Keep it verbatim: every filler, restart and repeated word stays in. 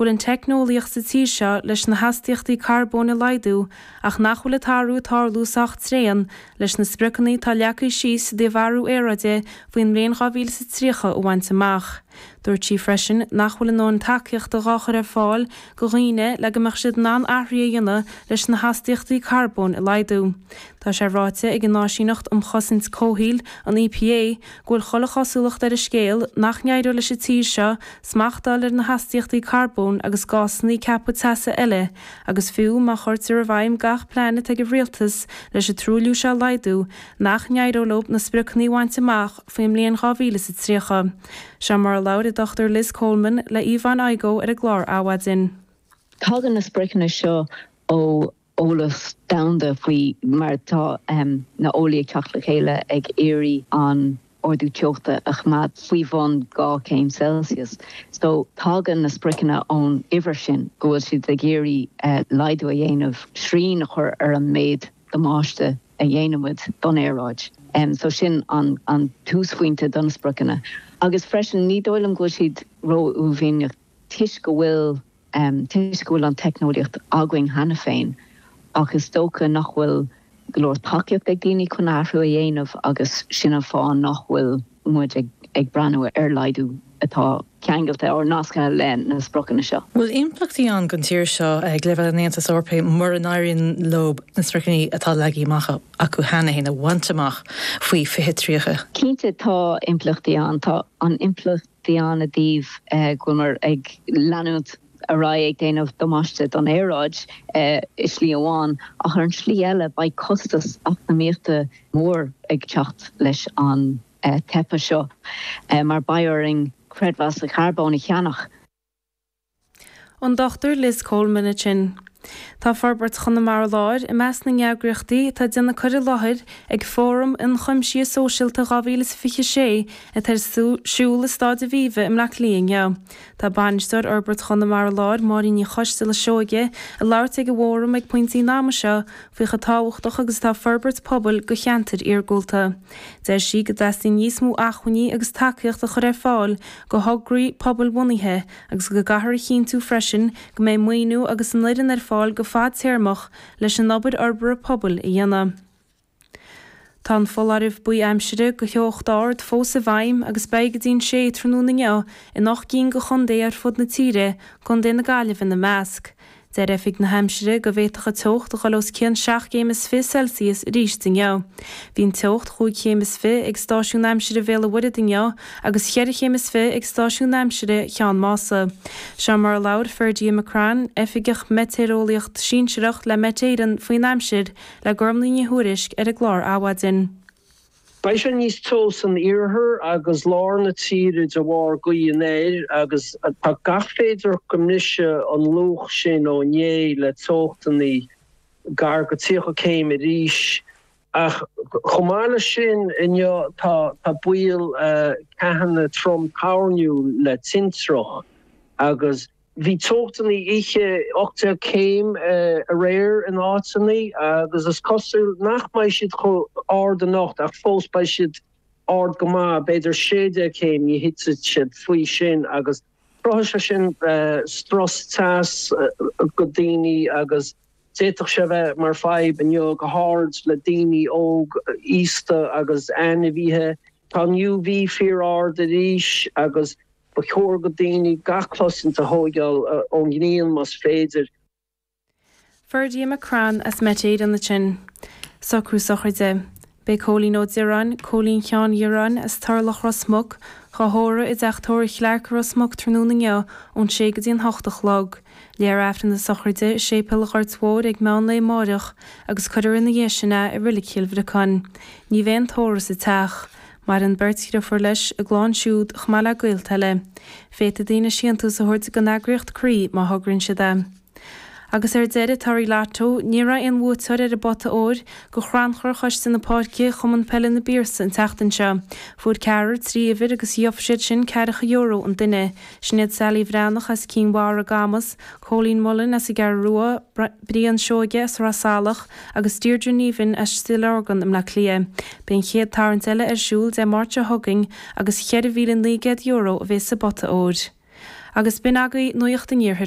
go bhfuil an teicneolaíocht sa tír seo leis na hastaíochtaí carbóin a laghdú ach nach bhfuil an t-athrú ag tarlú sách tréan leis na spriocanna atá leagtha síos i dtaobh athrú aeráide faoin mbliain dhá mhíle is a tríocha a bhaint amach. Dúirt sí freisin nach bhfuil a ndóthain tacaíochta dhá chur ar fáil go dhaoine le go mbeadh siad in ann athruithe a dhéanamh leis na hastaíochtaí carbóin a laghdú. Tá sé ráite ag an Áisíneacht um Chosaint Comhshaoil, an EPA, go bhfuil chuile chosúlacht ar an scéal nach n-éireoidh leis an tír seo smacht a fháil ar na hastaíochtaí carbóin agus gásanna ceaptha teasa eile agus fiú má chuirtear i bhfeidhm gach plean atá ag an rialtas leis an truailliú seo a laghdú, nach n-éireoidh leo na spriocanna a bhaint amach faoin mbliain dhá mhíle is a tríocha. Seo mar a labhair an Dochtúir Liz Coleman le Yvonne Igoe ar an gclár Adhmhaidin. Tagann na spriocanna seo ó eolas domhanda faoi mar tá na eolaithe ag teacht le chéile ag iarraidh an ardú teochta a choimeád faoi bhun dhá chéim Celsius. So tagann na spriocanna ón uimhir sin go bhfuil siad ag iarraidh laghdú a dhéanamh, srian a chur ar an méid damáiste a dhéanaimid don aeráid. So sin an an túsphointe don spriocanna. Agus freisin ní dóigh liom go bhfuil siad ró-uaillmhianach toisc go bhfuil toisc go bhfuil an teicneolaíocht againn cheana féin ach is dócha nach bhfuil go leor tacaíocht ag daoine chun athrú a dhéanamh agus sin an fáth nach bhfuil muid ag ag breathnú ar laghdú atá ceangailte or nasctha le na spriocanna seo. Bhfuil impleachtaí ann don tír seo ag leibhéal an Aontais Eorpaigh mura n-éiríonn leo na spriocanna atá leagtha amach acu cheana féin a bhaint amach faoi fiche tríocha? Cinnte tá impleachtaí ann. Tá an impleachtaí ann i dtaobh go bhfuil muid ag leanúint ar aghaidh ag déanamh damáiste don aeráid i slí amháin ach ar an slí eile beidh costas eacnamaíochta mór ag teacht leis an teipe seo mar beidh orainn creidmheas carbóin a cheannach. An Dochtúir Liz Coleman ansin. Tá Forbairt Chonamara Láir i measc na n-eagraíochtaí atá ag déanamh cur i láthair ag Fóram Ionchuimsithe Sóisialta dhá mhíle is fiche sé atá ar siúl i Staid Aviva i mBleá Cliath inniu. Tá bainisteoir Fhorbairt Chonamara Láir, Máirín Ní Choisteala Seoige, ag labhairt ag an bhfóram ag pointí an ama seo faoi chomh tábhachtach agus atá forbairt pobail do cheantair iargúlta. Deir sí go dteastaíonn níos mó acmhainní agus tacaíocht a chur ar fáil do thograí pobalbhunaithe agus go gcaithfear a chinntiú freisin go mbeidh maoiniú agus an fhoireann ar fáil go fadtéarmach leis an obair fhorbartha pobail a dhéanamh. Tá an foláireamh buí aimsire do theocht ard fós i bhfeidhm agus beidh go dtí an sé tráthnóna inniu in ocht gcinn de chontae ar fud na tíre, Contae na Gaillimhe ina measc. Deir Oifig na hAimsire go bhféadfadh an teocht a dhul os cionn seacht gcéim is fiche Celsius arís inniu. Bhí an teocht chúig chéim is fiche ag stáisiún aimsire Bhéal an Mhuirthead inniu agus cheithre chéim is fiche ag stáisiún aimsire Cheann Mása. Seo mar a labhair Ferdia McCrann, Oifigeach Meitéareolaíocht Sinsearach le Met Éireann faoin aimsir le Gormlaith Ní Thuairisg ar an gclár Adhmhaidin. Beidh sé níos teo san iarthar agus lár na tíre de bharr gaoth anoir agus tá gach féidearthacht go mbrisfidh an luach sin ó inné le teochtanna gar go tríocha céim arís. Ach chomh maith leis sin inniu tá tá baol ceathanna trom toirniúil le tintreach agus Bhí teochtanna oíche ocht déag céim aréir in áiteanna agus is cosúil nach mbeidh siad chomh ard anocht ach fós beidh siad ard go maith, b'fhéidir sé déag céim, ní thitfidh siad faoi sin agus cruthóidh sé sin strus teas go daoine agus d'fhéadfadh sé bheith mar fadhb inniu go háirid le daoine óg, aosta agus ainmhithe. Tá an U V fíor ard arís agus Ba chóir go daoine gach cosaint a thóigeáil ón ngrian más féidir. Ferdia McCrann as Met Éireann ansin. Socrú sochraide. Beidh Cóilín Ó Direáin, Cóilín Sheáin Dhireáin as Turlach Ros Muc, dhá thórramh i dteach tórraimh Chlarke i Ros Muc tráthnóna inniu ón sé go dtí an hocht a chlog. Léifear Aifreann na sochraide i Séipéal an Ghoirt Mhóir ag meán lae amáireach agus cuirfear ina dhiaidh sin é i Reilig Chill Bhriocáin. Ní bheidh aon tórramh sa teach. Maireann beirt dhriofúr leis, a gclann siúd, chomh maith le gaolta eile. Féadfaidh daoine síntiús a thabhairt don eagraíocht Croí má thograíonn siad é. Agus ar deireadh, torthaí Lotto, ní raibh aon bhuaiteoir ar an bpota óir do chrannchur Choiste na Páirce Chumann Peile na bPiarsaigh an tseachtain seo. Fuair ceathrar trí uimhir agus gheobhaidh siad sin ceathracha euro an duine. Sin iad Sally Bhreathnach as Cinn Mhara, Camas, Cóilín Mullen as an gCeathrú Rua, Brian Seoige as Ráth Salach agus Deirdre Neven as Stigh Lorgan i mBleá Cliath. Beidh an chéad tarraingt eile ar siúl Dé Máirt seo chugainn agus cheithre mhíle naoi gcéad euro a bheas sa bpota óir. Agus b'in agaibh Nuacht an Iarthair.